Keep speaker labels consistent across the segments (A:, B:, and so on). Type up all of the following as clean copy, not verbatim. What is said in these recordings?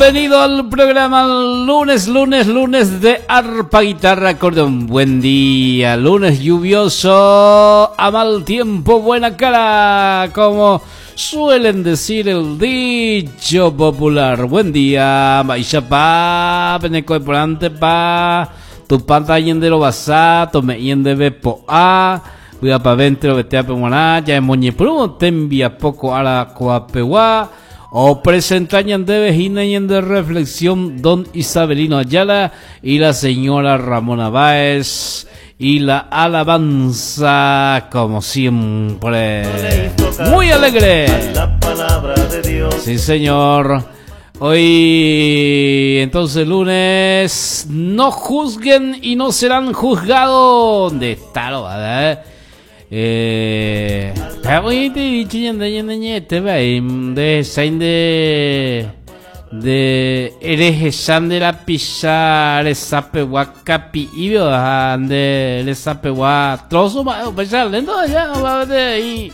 A: Bienvenido al programa lunes, lunes, lunes de arpa, guitarra, acordeón. Buen día, lunes lluvioso, a mal tiempo, buena cara, como suelen decir el dicho popular. Buen día, mba'éichapa, peneko porante pa, Tupã tañanderovasa, tome'ẽ ñandéve po'a, vy'apavẽ enterovetéape g̃uarã, jahemoñepyrũvo tembiapo ko ára ko'apegua. Opresenta ñandéve hína ñande reflexión don Isabelino Ayala y la señora Ramona Báez y la alabanza como siempre. Muy alegre. Sí, señor. Hoy, entonces, lunes, no juzguen y no serán juzgados. ¿Dónde está lo? Eh, nde erehecha nde rapicha resapegua kapi'ípe ha nde resapegua trozo mba'e upéicha lénto aja peteĩ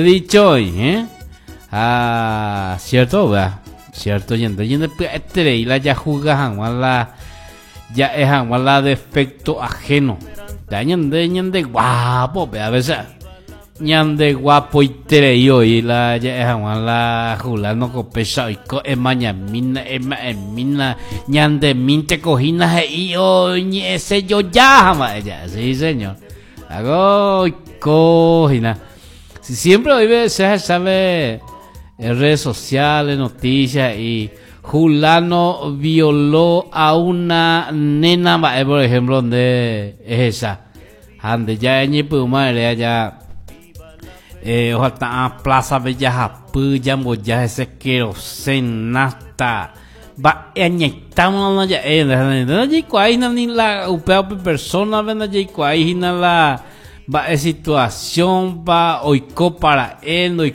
A: dicho oĩ eh ha cierto upéva cierto ñande ñande pya'eterei la jahusga hag̃ua la Ja'e hag̃ua la defecto ajeno. Ja ñande ñande guapo pe a veces ñande guapoiterei oĩ la ja'e hag̃ua la fulano ko péicha oiko emañamína ema'ẽmína ñandemínte ko hína he'i oñe'ẽse joja ha mba'e ja'e sí señor hago oiko hína si siempre oĩve che ahechave en redes sociales noticias y Hulano violó a una nena mba'e por ejemplo nde ehecha ha nde ja eñepyrũma ere aja eh, ohata'ã plaza-pe jahapy jamboja hese querosén, nafta mba'e añaitáma ndaja'éi nde ndajaikuaái hína ni la upéva upe persona-pe ndajaikuaái hína la mba'e situación-pa oikópa ra'e ndoikói.